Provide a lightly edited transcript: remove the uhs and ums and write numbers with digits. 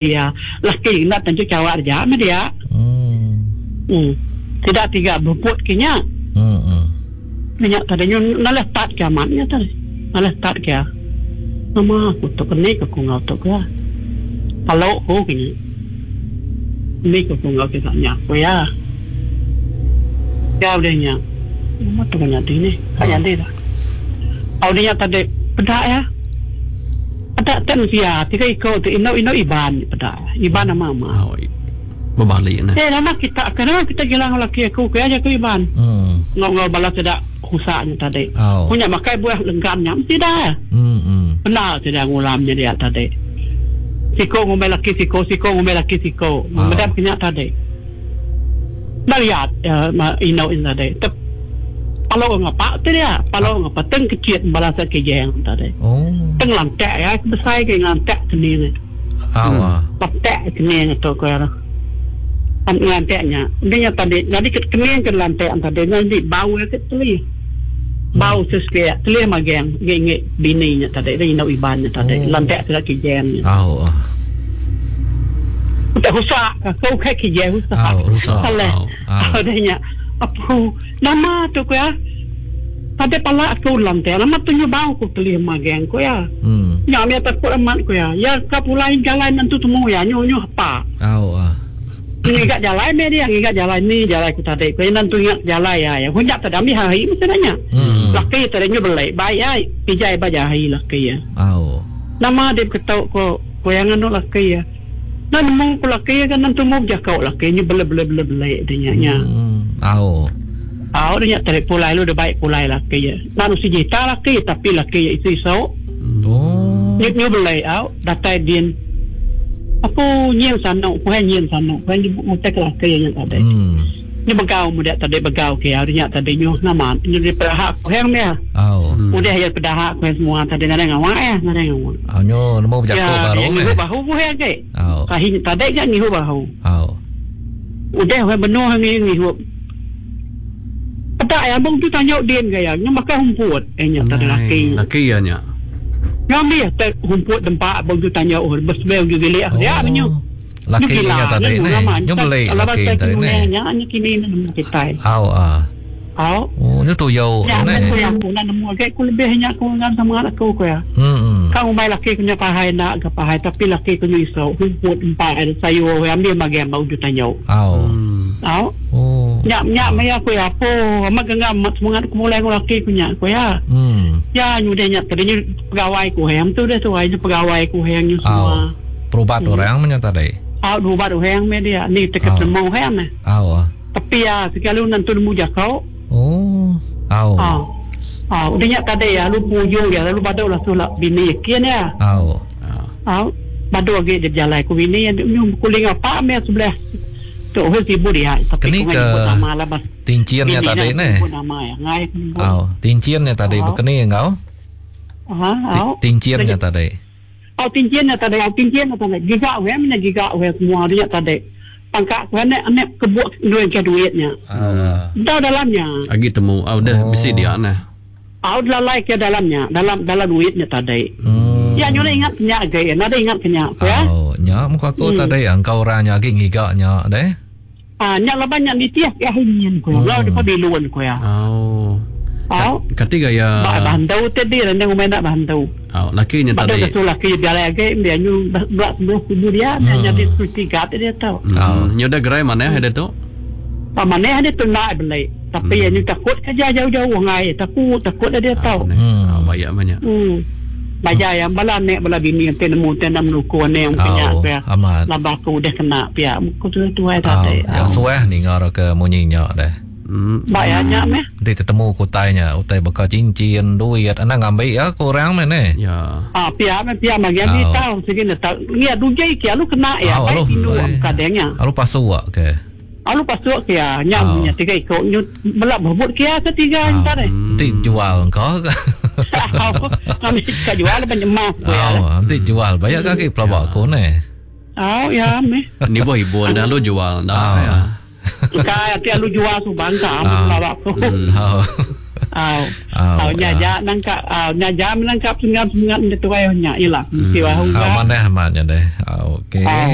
Iya, laki enda tentu chawak aja meh dia. Hmm. Sida tiga beput ke nya. Hmm. Nya tadi nyu nalih tat ke amat nya tadi. Nalih tat ke. Nama aku tu keni ke ku enggau tu ke. Palo ku ke nya. Keni ke ku enggau sida nya ku iya. Ya udah nya. Nama tu nyadi nih. Ka nyadi dah. Udah nya tadi peda iya. Peda te mensia tiga iko ti indu indu Iban peda. Iban nama ama. Oh, bebali ne. Eh nama kita ke nama kita gila enggau laki aku ke aja ku Iban. Hmm. Enggau enggau bala sida husa nya tadi. Oh. Ku nya makai buah lenggam nya mesti dah. Hmm. hmm. Bendar sida ngulam nya dia tadi. Siko ngumbai laki siko, siko ngumbai laki siko. Oh. Meda ke nya tadi. Enda liat indu nya tadi. Tep palo ngapa ti dia, palo ngapa teng kecit bala sida kijang tadi. Oh. Teng lantak iya ke besai ke ngelantak kening. Awa. Lantak kening tu ko iya. An ngelantak nya. Udah nya tadi nyadi ke kening ke lantak tadi nyadi bau iya ke telih. Bau sesepiak telih magang ngi ngi bini nya tadi indu Iban nya tadi. Oh. Lantak sida kijang nya. Au. Utai husak aku ukai kijang husak. Au, husak. Salah. Au. Au. Udah nya. Apu nama tu ku iya. Tadi pala aku lantak nama tu nyu bau ku telih magang ku iya. Hmm. Nya mih takut amat ku iya. Iya ka pulai jalai nentu temu iya nyu nyu hepa. Au. Ngiga jalai meh dia, ngiga jalai ni jalai ku tadi ku iya nentu ingat jalai iya. Iya hunjap tadi ambi hari mesti dah nya. Hmm. Laki tadi nyu beli bai iya pijai ba jahi laki iya. Au. Nama deh beketu ko ku iya nganu laki iya. Enda nemu ku laki iya ga nentu mu bejako laki nyu bele bele bele bele deh nya nya. Hmm. Au. Au deh nya tadi pulai lalu deh bai pulai laki iya. Enda nusi jita laki iya tapi laki iya isu isu. Oh. Nyu nyu beli au datai din. Aku nyin sanu, ku nyin sanu, ku nyebut ngutai ke laki nya tadi. Hmm. Nyu begau muda tadi begau ke hari nya tadi nyu nama nyu di pedaha ku hang dia. Oh. Udah ya pedaha ku semua tadi nadai ngawa ya, nadai ngawa. Oh, nyu nemu bejaku Ya, baru dia meh. ngihu bahu ku hang ke. Oh. Kahi tadi ga ngihu bahu. Oh. Udah we benuh ngi ngihu. Peda ya bung tu tanya din ga ya, nyu makai humput eh nya tadi laki. Laki ya nya. Ngambi te humput tempat bung tu tanya oh besebel ju bilik Oh. dia menyu. Laki nya tadi ni. Nyu beli laki tadi ni. Nya nya kini nemu kitai. Au ah. Au. Oh, nyu tuyau Ya, ni. aku yang aku nak nemu agak aku lebih nya aku ngam sama aku ko ya. Hmm. Kau umai laki ku nya pahai nak ke pahai tapi laki ku nya iso humput empat ada sayur ambil bagian bau ju tanya. Au. Au. Oh. Nya nya maya aku ya apa amat genggam amat semangat aku mulai dengan laki ku nya aku ya. Hmm. Ya nyudah nya tadi nyu pegawai ku hang tu dah tu ai pegawai ku hang nyu Au. semua. Perubat orang menya tadi. Au berubat orang meh dia ni Au. teka temu hang meh. Au. Tapi ya sekali nanti nemu jakau. Oh. Au. Au. Au udah nya tadi ya lu pujung ya lalu badu lah sulap bini yakin ya. Au. Au. Badu lagi dia berjalan ku bini ya nyu kuling apa meh sebelah. Tu hoi sibuk dia tapi Keni ku ke nyebut nama lah bas. Tincinnya Bini tadi nak ni. Nyebut nama ya. Ngai aku nyebut. Au, tincinnya tadi Au. bekeni enggau? Ha, au. Tincinnya tadi. Au tincin nya tadi, au tincin nya tadi. Giga we mena giga we semua dia tadi. Pangka ku anek anek kebuk duit ke duit nya. Au. Dah dalamnya. Agi temu au dah Oh. bisi dia nah. Au lalai ke dalamnya, dalam dalam duitnya tadi. Hmm. Ya nyuna ingat kenya agi, nada ingat kenya ku ya. Au, nya muka aku tadi engkau orang nya agi ngiga nya deh. Ah nya laban nya nitih ke hingin ku. Lau depa bilun ku ya. Au. Au. Kati gaya Ba bantu tadi rendang umai nak bantu. Au, laki nya Badu tadi. tu laki jalai agi dia nyu belak sebelah kubu dia hmm. jadi security guard dia tau. Hmm. Nyu dah gerai mana ada tu? Pa mana dia tu nak beli. Tapi hmm. nyu takut kerja jauh-jauh ngai takut takut dia tau. Hmm. Bayak banyak. Hmm. Baja yang bala nek bala bini yang nemu te nam nuku ne yang punya Au, pia. amat. Laba aku udah kena pia. Ku tu tuai Au, tadi. ya suah ninga ke munyi nya deh. Hmm. Ba ya nya meh. Nanti tetemu ku utai nya, utai baka cincin, duit, anang ngambi ya ku orang meh ne. Ya. Ah pia meh pia magi ambi Au. tau sigi ne tau. Ngia dujai kia lu kena ya. Au, Baik alu. tindu kadangnya. Alu pasu ke. Alu pasuk kia nya Au. nya tiga iko nyu belak berebut kia ke tiga Au. entar eh. Nanti jual engkau ke. Kami ka jual banyak emas ko ya. Au, nanti jual banyak kaki pelabak aku ne. Au ya meh. Ni boh ibun dah lu jual dah Au. ya. Ka ati alu jual su bangka Ah. amu lawak ko. Au. Au. Au, Au nya ya. ja nangkap au nya ja menangkap sengat-sengat nya tuai nya ila. Mesti wah Au hungga. manah amat nya deh. Au okey. Au.